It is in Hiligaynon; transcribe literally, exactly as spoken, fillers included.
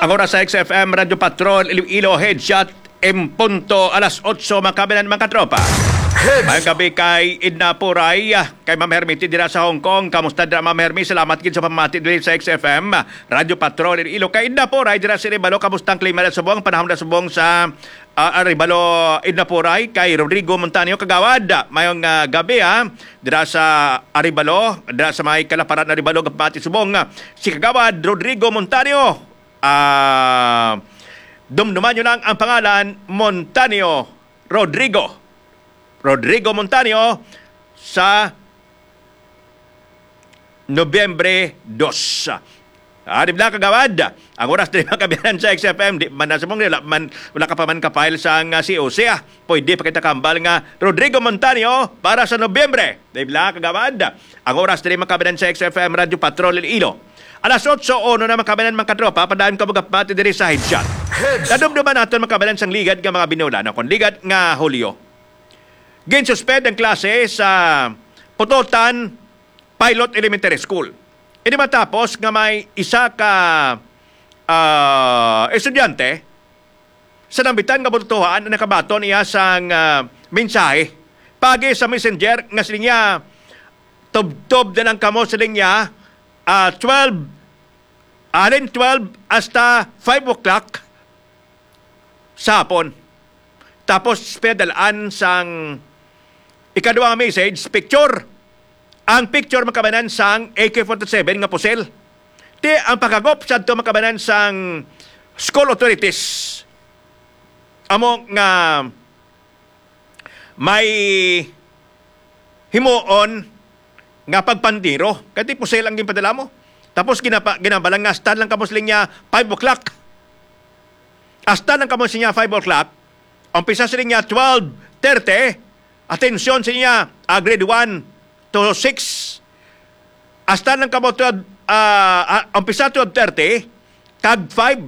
Ang oras sa X F M Radyo Patrol, Iloilo, headshot, en punto, alas otso, mga kababayan, mga katropa. Headshot. Mayong gabi kay Edna Puray, kay Ma'am Hermity dira sa Hong Kong. Kamusta dira, Ma'am Hermy? Salamat gid sa pamati diri sa X F M Radyo Patrol, Iloilo. Kay Edna Puray dira sa Arevalo, kamusta ang klima sa subong, panahon sa subong sa, ah, Arevalo, Edna Puray? Kay Rodrigo Montaño, kagawad, mayong, ah, gabi, ha. Dira sa Arevalo, dira sa may Kalaparan, Arevalo, gapati subong, ah, si Kagawad Rodrigo Montaño. Ah, dumduman nyo lang ang pangalan, Montaño Rodrigo. Rodrigo Montaño sa Nobyembre dos. Ah, di ba, kagawad? Ang oras diri, mga kababayan, sa X F M, di man na sa mong, wala man, wala ka pa man ka-file sa nga C O C, ah. Pwede pa kita kambal nga Rodrigo Montaño para sa Nobyembre. Di ba, kagawad? Ang oras diri, mga kababayan, sa X F M Radyo Patrol Iloilo. Alas otso uno na, mga kababayan, mga katropa, padaan ka magapati diri sa Headshot. Headshot. Nadumduman naton, mga kababayan, sang ligad nga mga binulan, o kon ligad nga Hulyo. Ginsuspend ang klase sa Pototan Pilot Elementary School. Ini matapos nga may isa ka, ah, estudyante sa Nambitan nga Bututuhan ang nakabaton niya sang, ah, mensahe pagi sa messenger nga siling niya, "Tubtob na lang kamo," siling niya, ah, twelve, halin twelve hasta five o'clock sa hapon. Tapos, pinadalaan sang ikaduha nga message, picture. Ang picture, mga kababayan, sang A K forty-seven nga pusil. Ti ang paghagop sadto, mga kababayan, sang school authorities, amo nga may himuon nga pagpandiro. Kay ti pusil ang ginpadala mo. Tapos ginapa-, ginabalang nga, "Hasta lang kamo," siling niya, "five o'clock." "Hasta lang kamo," siling niya, "five o'clock." Umpisa siling niya, twelve thirty. Atensyon, siling niya, ah, grade one to six. "Hasta lang kamo twelve," ah, ah, umpisa twelve thirty, kag five